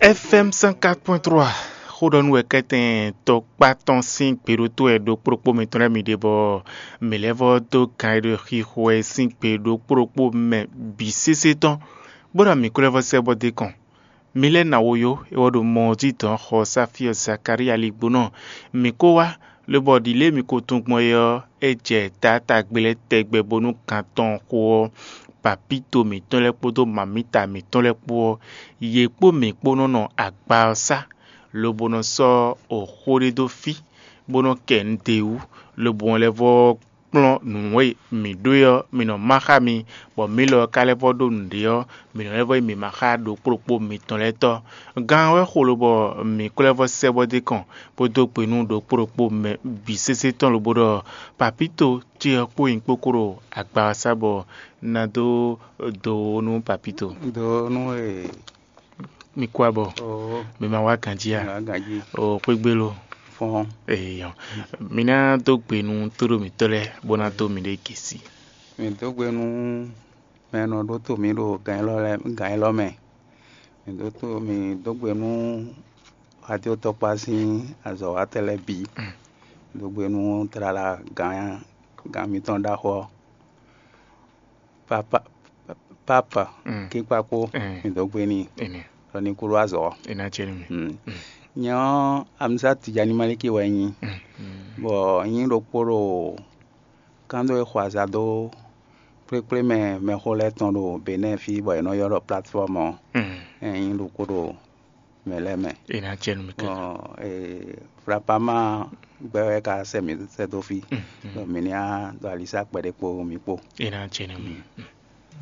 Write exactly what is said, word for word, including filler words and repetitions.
F M cent quatre point trois, xó ɖɔ nú wɛ kɛ́tɛn tɔkpá tɔn sín gběɖótó wɛ ɖokpóɖokpó mitɔn lɛ́ɛ mi ɖe, bɔ mǐ lɛ́ vɔ́ dó gan e ɖo xixo wɛ sín gbě ɖokpóɖokpó mɛ bǐ sésé tɔn, bó ɖɔ mǐ ko lɛ́ vɔ́ sɛ́ bɔ dó kɔn. Mǐ lɛ́ ná wo yó, é wɔ ɖo mɔ ɔ́ jí dɔ̌n xɔ Sáfíɔ Zakalía ligbónɔ. Mǐ ko wá, lobɔ ɖi lě e mǐ ko tunwun gbɔn é ɔ́, é jɛ taátagbe lɛ́ɛ tɛgbɛ bónú gan tɔn xo ɔ́, papíto mǐtɔn lɛ́ɛ kpódó mamǐta mǐtɔn lɛ́ɛ kpó ɔ́, yě kpó mǐ kpó nɔ́ nɔ agba ɔ́ sá, lobo nɔ sɔ́ xó ɖé dó fí, bó nɔ́ kɛ nǔ d'é wú, lobo lɛ́ vɔ́ kplɔ́n nǔ e mǐ ɖó é ɔ́, mǐ nɔ má xá mi, bɔ mǐ lɔ ka lɛ́ vɔ́ ɖó nǔɖé ɔ́, mǐ nɔ lɛ́ vɔ́ yi mǐ má xá ɖokpóɖokpó mitɔn lɛ́ɛ tɔ́. Gan ɔ́ wɛ xo lobɔ mǐ ko lɛ́ vɔ́ sɛ́ bɔ dó kɔn, bó dó gbe nú ɖokpóɖokpó mɛ bǐ sésé tɔn lobo ɖɔ: "Papíto ce ɔ́ kpó nyí kpókó ɖo agba ɔ́ sá bɔ ná dó do nú papíto." Do nú e Mi kú abɔ. Oo. Mi ma wá ganjí a? Ŋa ganjí. O xwégbé lo. Fɔn. Eyɔ. Mi ná dó gbe nú tóɖó mǐtɔn lɛ́ɛ bó ná dó mi ɖe gěsi. Mi dó gbe nú mɛ e nɔ ɖótó mǐ ɖo gan élɔ́ lɛ́ɛ gan élɔ́ mɛ. Mi dó tó mi dó gbe nú adéwótɔkpá sín azɔ̌watɔ́ lɛ́ɛ bǐ. Mm. Mi dó gbe nú tlala gan gan mitɔn ɖaxó ɔ́. Papa, papa, Mm. Kíkpakpó, Mm. Mi dó gbe n'i, Ene. Ɖɔ ní kú ɖó azɔ̌. Ena cɛ nú mi. Mm. Mm. Nyɛ ɔ́, Amisa Tijani Maliki wɛ nyí, Mm. Mm. Bɔ nyí ɖokpó ɖo kándo e xɔ aza dó kplékplé mɛ mɛxó lɛ́ɛ tɔn ɖo Benɛ́ɛ fí, bɔ è nɔ ylɔ́ ɖɔ plateforme ɔ́. Mm. Ɛ nyí ɖokpó ɖo mɛ lɛ́ɛ mɛ. Ena cɛ nú mi kɛ. Bɔ ee, Flapama gbɛ wɛ ka sɛ mǐ sɛ dó fí. Mm, mm. Ɖɔ mǐ ní á ɖo alisa kpɛɖé kpó mǐ kpó. Ena cɛ nú mi. Mm.